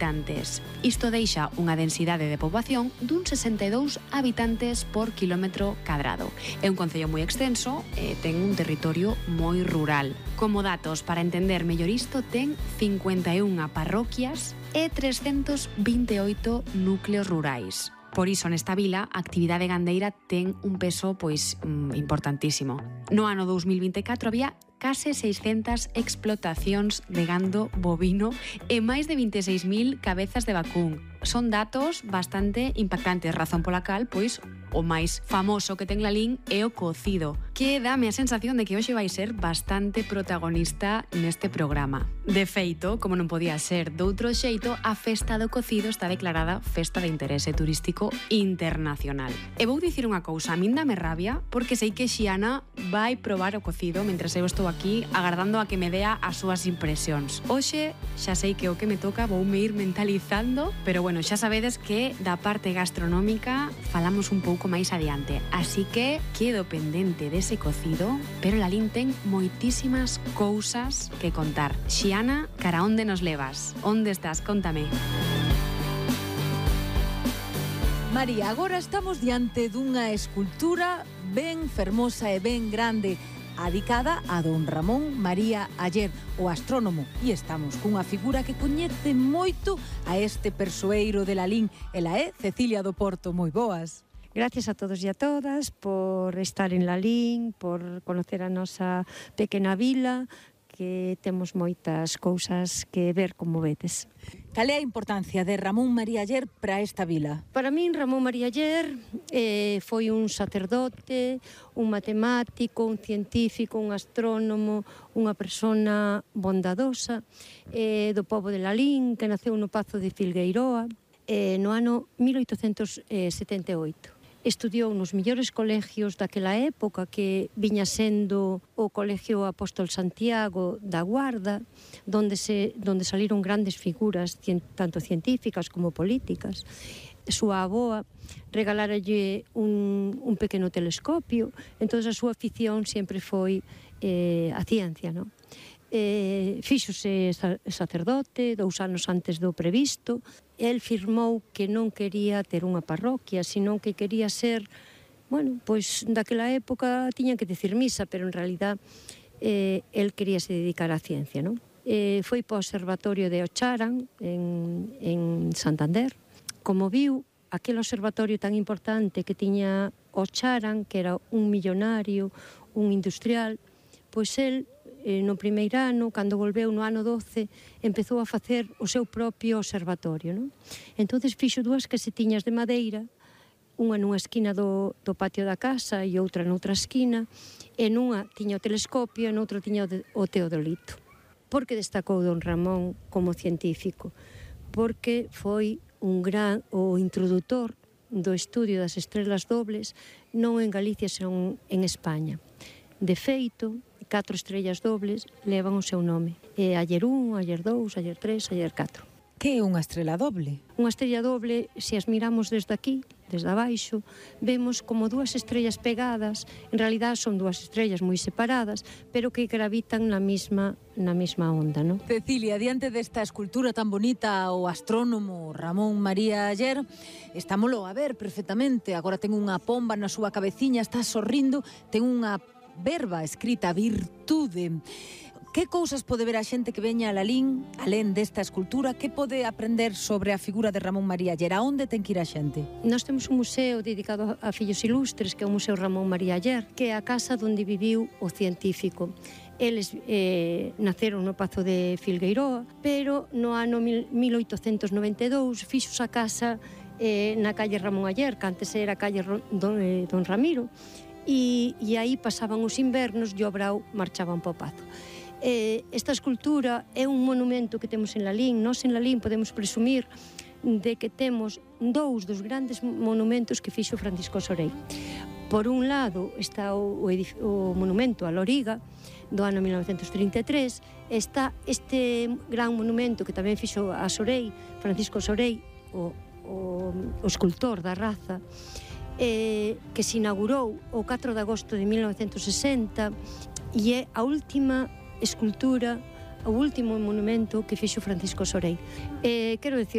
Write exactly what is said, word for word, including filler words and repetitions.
habitantes. Isto deixa unha densidade de poboación dun sesenta e dous habitantes por kilómetro cadrado. É un concello moi extenso e ten un territorio moi rural. Como datos, para entender mellor isto, ten cincuenta e unha parroquias e trescentos vinte e oito núcleos rurais. Por iso, nesta vila, a actividade gandeira ten un peso pois importantísimo. No ano dous mil vinte e catro había case seiscentas explotacións de gando bovino e máis de vinte e seis mil cabezas de vacún. Son datos bastante impactantes, razón pola cal, pois, o máis famoso que ten Lalín é o cocido, que dame a sensación de que hoxe vai ser bastante protagonista neste programa. De feito, como non podía ser doutro xeito, a festa do cocido está declarada Festa de Interese Turístico Internacional. E vou dicir unha cousa, a min dame rabia, porque sei que Xiana vai probar o cocido mentre eu estou aquí agardando a que me dea as súas impresións. Hoxe xa sei que o que me toca voume ir mentalizando, pero bueno, xa sabedes que da parte gastronómica falamos un pouco máis adiante, así que quedo pendente dese cocido, pero Lalín ten moitísimas cousas que contar. Xiana, cara onde nos levas? Onde estás? Cóntame. María, agora estamos diante dunha escultura ben fermosa e ben grande, adicada a don Ramón María Aller, o astrónomo, e estamos cunha figura que coñece moito a este persoeiro de Lalín. Ela é Cecilia do Porto. Moi boas. Gracias a todos e a todas por estar en Lalín, por conocer a nosa pequena vila, que temos moitas cousas que ver, como vedes. Cal é a importancia de Ramón María Aller para esta vila? Para min, Ramón María Aller eh, foi un sacerdote, un matemático, un científico, un astrónomo, unha persona bondadosa eh, do pobo de Lalín, que naceu no Pazo de Filgueiroa eh, no ano mil oitocentos setenta e oito. Estudiou nos millores colegios daquela época, que viña sendo o Colegio Apóstol Santiago da Guarda, donde, se, donde saliron grandes figuras, tanto científicas como políticas. Súa avoa regaláralle un, un pequeno telescopio, entón a súa afición sempre foi eh, a ciencia, non? Eh, fíxose sacerdote dous anos antes do previsto. El firmou que non quería ter unha parroquia, senón que quería ser, bueno, pois daquela época tiñan que decir misa, pero en realidad eh, el quería se dedicar á ciencia, non? Eh, foi para o observatorio de Ocharan en, en Santander. Como viu aquel observatorio tan importante que tiña Ocharan, que era un millonario, un industrial, pois el no primeiro ano, cando volveu no ano doce, empezou a facer o seu propio observatorio, non? Entonces fixo dúas casetiñas de madeira, unha nunha esquina do, do patio da casa e outra noutra esquina, e nunha tiña o telescopio e noutra tiña o, de, o teodolito. Por que destacou don Ramón como científico? Porque foi un gran o introdutor do estudio das estrelas dobles, non en Galicia, senón en España. De feito, catro estrellas dobles levan o seu nome. É Aller un, Aller dous, Aller tres, Aller catro. Que é unha estrela doble? Unha estrella doble, se as miramos desde aquí, desde abaixo, vemos como dúas estrellas pegadas, en realidad son dúas estrellas moi separadas, pero que gravitan na mesma, na mesma onda, non? Cecilia, diante desta escultura tan bonita, o astrónomo Ramón María Aller, estámolo a ver perfectamente. Agora ten unha pomba na súa cabeciña, está sorrindo, ten unha verba escrita virtude. Que cousas pode ver a xente que veña a Lalín, alén desta escultura? Que pode aprender sobre a figura de Ramón María Aller? A onde ten que ir a xente? Nós temos un museo dedicado a fillos ilustres, que é o Museo Ramón María Aller, que é a casa onde viviu o científico. Eles eh, naceron no Pazo de Filgueiroa, pero no ano mil oitocentos noventa e dous fixos a casa eh, na calle Ramón Aller, que antes era a calle Don, eh, Don Ramiro, e, e aí pasaban os invernos e o brao marchaban para o Pazo. Eh, esta escultura é un monumento que temos en Lalín. Nós en Lalín podemos presumir de que temos dous dos grandes monumentos que fixo Francisco Sorey. Por un lado está o, o, o monumento a Loriga do ano mil novecentos trinta e tres, está este gran monumento que tamén fixo a Sorey, Francisco Sorey, o, o, o escultor da raza, eh, que se inaugurou o catro de agosto de mil novecentos sesenta, e é a última escultura o último monumento que fixo Francisco Sorey. Eh, quero decir